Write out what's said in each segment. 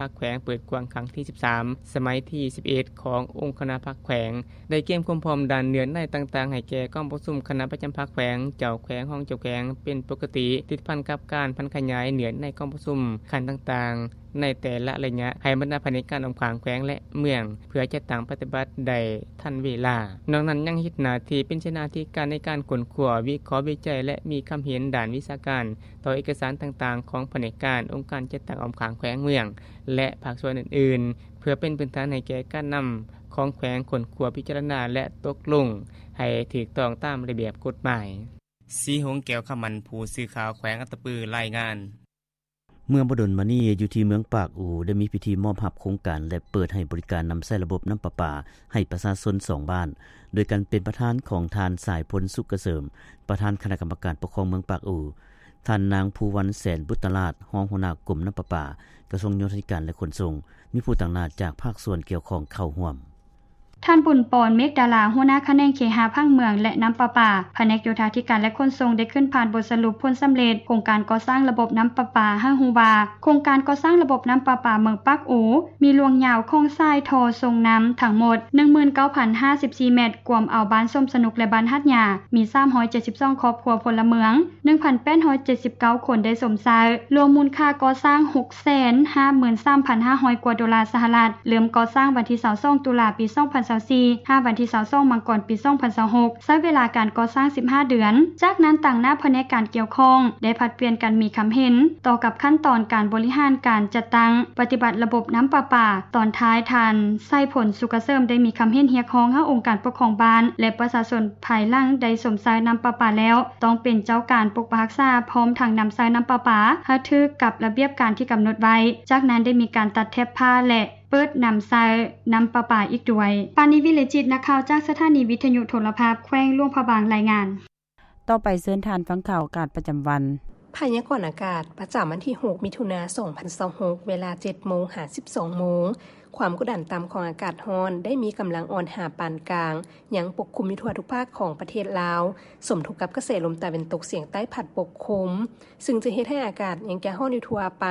ພັກແຂວງເປີດກວ້າງຄັ້ງທີສິບສາມ ສະໄໝທີສິບເອັດ ຂອງອົງຄະນະພັກແຂວງ ໄດ້ກຽມຄວາມພ້ອມດ້ານເນື້ອໃນຕ່າງໆ ໃຫ້ແກ່ກອງປະຊຸມຄະນະປະຈຳພັກແຂວງ, ເຈົ້າແຂວງ, ຮອງເຈົ້າແຂວງ ເປັນປົກກະຕິ, ຕິດພັນກັບການຜັນຂະຫຍາຍເນື້ອໃນກອງປະຊຸມຂັ້ນຕ່າງໆ ໃນແຕ່ລະໄລຍະ ໃຫ້ບັນດາພະແນກການອ້ອມຂ້າງແຂວງ ແລະ ເມືອງ ເພື່ອຈັດຕັ້ງປະຕິບັດໄດ້ທັນເວລາ. ນອກນັ້ນຍັງເຮັດໜ້າທີ່ເປັນເສນາທິການໃນການຄົ້ນຄວ້າ, ວິເຄາະ, ວິໄຈ ແລະ ມີຄຳເຫັນດ້ານວິຊາການ ຕໍ່ເອກະສານຕ່າງໆ ຂອງພະແນກການ, ອົງການຈັດຕັ້ງອ້ອມຂ້າງແຂວງ, ເມືອງ ແລະ ພາກສ່ວນອື່ນໆ ເພື່ອເປັນພື້ນຖານໃຫ້ແກ່ການນຳຂອງແຂວງຄົ້ນຄວ້າ, ພິຈາລະນາ ແລະ ຕົກລົງໃຫ້ຖືກຕ້ອງຕາມລະບຽບກົດໝາຍ. ສີຫົງ ແກ້ວຄຳໝັ້ນ, ຜູ້ສື່ຂ່າວແຂວງອັດຕະປື ລາຍງານ. ເມື່ອບໍ່ດົນມານີ້ ຢູ່ທີ່ເມືອງປາກອູ ໄດ້ມີພິທີມອບຮັບໂຄງການ ແລະ ເປີດໃຫ້ບໍລິການນຳໃຊ້ລະບົບນ້ຳປະປາໃຫ້ປະຊາຊົນສອງບ້ານ, ໂດຍການເປັນປະທານຂອງທ່ານ ສາຍພົນ ສຸກກະເສີມ, ປະທານຄະນະກຳມະການປົກຄອງເມືອງປາກອູ, ທ່ານນາງ ພູວັນ ແສນບຸດຕະລາດ, ຮອງຫົວໜ້າກົມນ້ຳປະປາ, ກະຊວງໂຍທາທິການ ແລະ ຂົນສົ່ງ, ມີຜູ້ຕາງໜ້າຈາກພາກສ່ວນກ່ຽວຂ້ອງເຂົ້າຮ່ວມ. ທ່ານ ບຸນປອນ ເມກດາລາ, ຫົວໜ້າຂະແໜງເຄຫະຜັງເມືອງ ແລະ ນ້ຳປະປາ, ພະແນກໂຍທາທິການ ແລະ ຂົນສົ່ງ ໄດ້ຂຶ້ນຜ່ານບົດສະຫຼຸບຜົນສຳເລັດໂຄງການກໍ່ສ້າງລະບົບນ້ຳປະປາ ໃຫ້ຮູ້ວ່າ ໂຄງການກໍ່ສ້າງລະບົບນ້ຳປະປາເມືອງປາກອູ ມີລວງຍາວຂອງສາຍທໍ່ສົ່ງນ້ຳທັງໝົດ ໜຶ່ງໝື່ນເກົ້າພັນຫ້າສິບສີ່ແມັດ, ກວມເອົາບ້ານສົມສະໜຸກ ແລະ ບ້ານຫາດຍາ ມີສາມຮ້ອຍເຈັດສິບສອງຄອບຄົວພົນລະເມືອງ ໜຶ່ງພັນແປດຮ້ອຍເຈັດສິບເກົ້າຄົນໄດ້ຊົມໃຊ້, ລວມມູນຄ່າກໍ່ສ້າງ ຫົກແສນຫ້າໝື່ນສາມພັນຫ້າຮ້ອຍກວ່າໂດລາສະຫະລັດ, ເລີ່ມກໍ່ສ້າງວັນທີຊາວສອງຕຸລາ ປີສອງພັນຊາວສີ່ ຫາວັນທີຊາວສອງມັງກອນ ປີສອງພັນຊາວຫົກ, ໃຊ້ເວລາການກໍ່ສ້າງສິບຫ້າເດືອນ. ຈາກນັ້ນ ຕາງໜ້າພະແນກການກ່ຽວຂ້ອງ ໄດ້ຜັດປ່ຽນກັນມີຄຳເຫັນຕໍ່ກັບຂັ້ນຕອນການບໍລິຫານການຈັດຕັ້ງປະຕິບັດລະບົບນ້ຳປະປາ. ຕອນທ້າຍ ທ່ານ ໄຊພົນ ສຸກກະເສີມ ໄດ້ມີຄຳເຫັນຮຽກຮ້ອງໃຫ້ອົງການປົກຄອງບ້ານ ແລະ ປະຊາຊົນພາຍຫຼັງໄດ້ຊົມໃຊ້ນ້ຳປະປາແລ້ວ ຕ້ອງເປັນເຈົ້າການປົກປັກຮັກສາ ພ້ອມທັງນຳໃຊ້ນ້ຳປະປາໃຫ້ຖືກກັບລະບຽບການທີ່ກຳນົດໄວ້. ຈາກນັ້ນໄດ້ມີການຕັດແຖບຜ້າ ແລະ ເປີດນຳໃຊ້ນ້ຳປະປາອີກດ້ວຍ. ປານີ ວິເລຈິດ, ນັກຂ່າວຈາກສະຖານີວິທະຍຸໂທລະພາບແຂວງຫຼວງພະບາງ ລາຍງານ. ຕໍ່ໄປເຊີນທ່ານຟັງຂ່າວອາກາດປະຈຳວັນ. ພະຍາກອນອາກາດປະຈຳວັນທີຫົກ ມິຖຸນາ ສອງພັນຊາວຫົກ ເວລາເຈັດໂມງຫາສິບສອງໂມງ, ຄວາມກົດດັນຕ່ຳຂອງອາກາດຮ້ອນໄດ້ມີກຳລັງອ່ອນຫາປານກາງ ຍັງປົກຄຸມຢູ່ທົ່ວທຸກພາກຂອງປະເທດລາວ, ສົມທົບກັບກະແສລົມຕາເວັນຕົກສຽງໃຕ້ພັດປົກຄຸມ, ຊຶ່ງຈະເຮັດໃຫ້ອາກາດຍັງຈະຮ້ອນຢູ່ທົ່ວໄປ,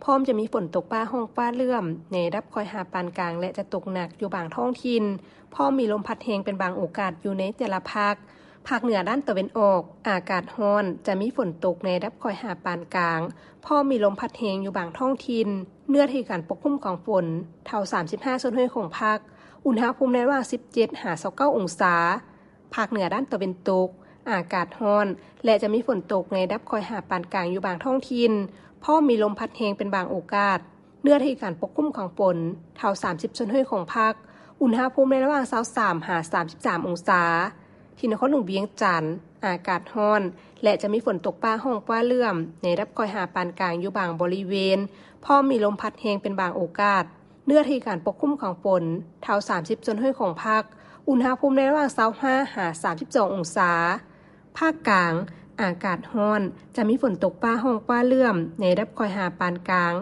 ພ້ອມຈະມີຝົນຕົກຟ້າຮ້ອງຟ້າເຫຼື້ອມໃນລະດັບຄ່ອຍຫາປານກາງ ແລະ ຈະຕົກໜັກຢູ່ບາງທ້ອງຖິ່ນ, ພ້ອມມີລົມພັດແຮງເປັນບາງໂອກາດຢູ່ໃນແຕ່ລະພາກ. ພາກເໜືອດ້ານຕາເວັນອອກ ອາກາດຮ້ອນ, ຈະມີຝົນຕົກໃນລະດັບຄ່ອຍຫາປານກາງ, ພ້ອມມີລົມພັດແຮງຢູ່ບາງທ້ອງຖິ່ນ. ເນື້ອທີ່ການປົກຄຸມຂອງຝົນ ເທົ່າສາມສິບຫ້າສ່ວນຮ້ອຍຂອງພາກ, ອຸນຫະພູມໃນລະຫວ່າງສິບເຈັດຫາຊາວເກົ້າອົງສາ. ພາກເໜືອດ້ານຕາເວັນຕົກ ອາກາດຮ້ອນ ແລະ ຈະມີຝົນຕົກໃນລະດັບຄ່ອຍຫາປານກາງຢູ່ບາງທ້ອງຖິ່ນ, ພ້ອມມີລົມພັດແຮງເປັນບາງໂອກາດ. ເນື້ອທີ່ການປົກຄຸມຂອງຝົນ ເທົ່າສາມສິບສ່ວນຮ້ອຍຂອງພາກ, ອຸນຫະພູມໃນລະຫວ່າງຊາວສາມຫາສາມສິບສາມອົງສາ. ທີ່ນະຄອນຫຼວງວຽງຈັນ ອາກາດຮ້ອນ ແລະ ຈະມີຝົນຕົກຟ້າຮ້ອງຟ້າເຫຼື້ອມໃນລະດັບຄ່ອຍຫາປານກາງຢູ່ບາງບໍລິເວນ, ພ້ອມມີລົມພັດແຮງເປັນບາງໂອກາດ. ເນື້ອທີ່ການປົກຄຸມຂອງຝົນ ເທົ່າສາມສິບສ່ວນຮ້ອຍຂອງພາກ, ອຸນຫະພູມໃນລະຫວ່າງຊາວຫ້າຫາສາມສິບສອງອົງສາ. ພາກກາງ ອາກາດຮ້ອນ, ຈະມີຝົນຕົກຟ້າຮ້ອງຟ້າເຫຼື້ອມໃນລະດັບຄ່ອຍຫາປານກາງ,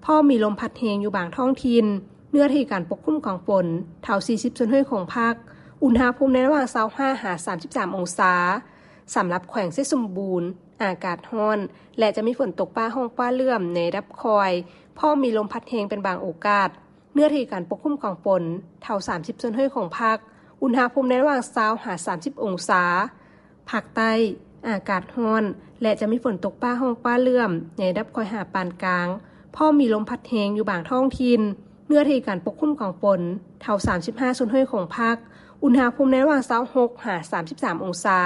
ພ້ອມມີລົມພັດແຮງຢູ່ບາງທ້ອງຖິ່ນ. ເນື້ອທີ່ການປົກຄຸມຂອງຝົນ ເທົ່າສີ່ສິບສ່ວນຮ້ອຍຂອງພາກ, ອຸນຫະພູມໃນລະຫວ່າງຊາວຫ້າຫາສາມສິບສາມອົງສາ. ສຳລັບແຂວງໄຊສົມບູນ ອາກາດຮ້ອນ ແລະ ຈະມີຝົນຕົກຟ້າຮ້ອງຟ້າເຫຼື້ອມໃນລະດັບຄ່ອຍ, ພ້ອມມີລົມພັດແຮງເປັນບາງໂອກາດ. ເນື້ອທີ່ການປົກຄຸມຂອງຝົນ ເທົ່າສາມສິບສ່ວນຮ້ອຍຂອງພາກ, ອຸນຫະພູມໃນລະຫວ່າງຊາວຫາສາມສິບອົງສາ. ພາກໃຕ້ ອາກາດຮ້ອນ ແລະ ຈະມີຝົນຕົກຟ້າຮ້ອງຟ້າເຫຼື້ອມໃນລະດັບຄ່ອຍຫາປານກາງ, ພ້ອມມີລົມພັດແຮງຢູ່ບາງທ້ອງຖິ່ນ. ເນື້ອທີ່ການປົກຄຸມຂອງຝົນ ເທົ່າສາມສິບຫ້າສ່ວນຮ້ອຍຂອງພາກ, ອຸນຫະພູມໃນລະຫວ່າງຊາວຫົກຫາສາມສິບສາມອົງສາ.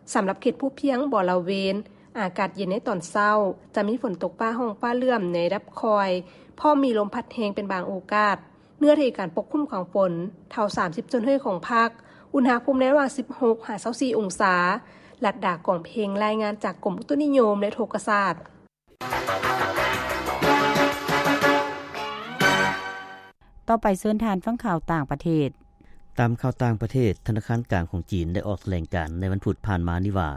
ສຳລັບເຂດພູພຽງບໍລະເວນ ອາກາດເຢັນໃນຕອນເຊົ້າ, ຈະມີຝົນຕົກຟ້າຮ້ອງຟ້າເຫຼື້ອມໃນລະດັບຄ່ອຍ, ພ້ອມມີລົມພັດແຮງເປັນບາງໂອກາດ. ເນື້ອທີ່ການປົກຄຸມຂອງຝົນ ເທົ່າສາມສິບສ່ວນຮ້ອຍຂອງພາກ, ອຸນຫະພູມໃນລະຫວ່າງສິບຫົກຫາຊາວສີ່ອົງສາ. ລັດດາ ກອງເພັງ ລາຍງານຈາກກົມອຸຕຸນິຍົມ ແລະ ອຸທົກກະສາດ. ຕໍ່ໄປເຊີນທ່ານຟັງຂ່າວຕ່າງປະເທດ. ຕາມຂ່າວຕ່າງປະເທດ, ທະນາຄານກາງຂອງຈີນໄດ້ອອກຖະແຫຼງການໃນວັນພຸດຜ່ານມານີ້ວ່າ,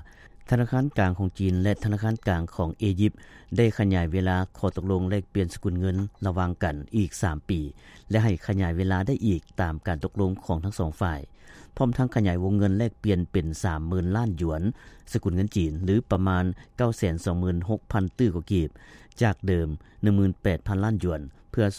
ທະນາຄານກາງຂອງຈີນ ແລະ ທະນາຄານກາງຂອງເອຢິບ ໄດ້ຂະຫຍາຍເວລາຂໍ້ຕົກລົງແລກປ່ຽນສະກຸນເງິນລະຫວ່າງກັນອີກສາມປີ ແລະ ໃຫ້ຂະຫຍາຍເວລາໄດ້ອີກຕາມການຕົກລົງຂອງທັງສອງຝ່າຍ, ພ້ອມທັງຂະຫຍາຍວົງເງິນແລກປ່ຽນເປັນສາມໝື່ນລ້ານຢວນ ສະກຸນເງິນຈີນ ຫຼື ປະມານເກົ້າແສນສອງໝື່ນຫົກພັນຕື້ກວ່າກີບ, ຈາກເດີມໜຶ່ງໝື່ນແປດພັນລ້ານຢວນ, ເ ພື່ອສູ້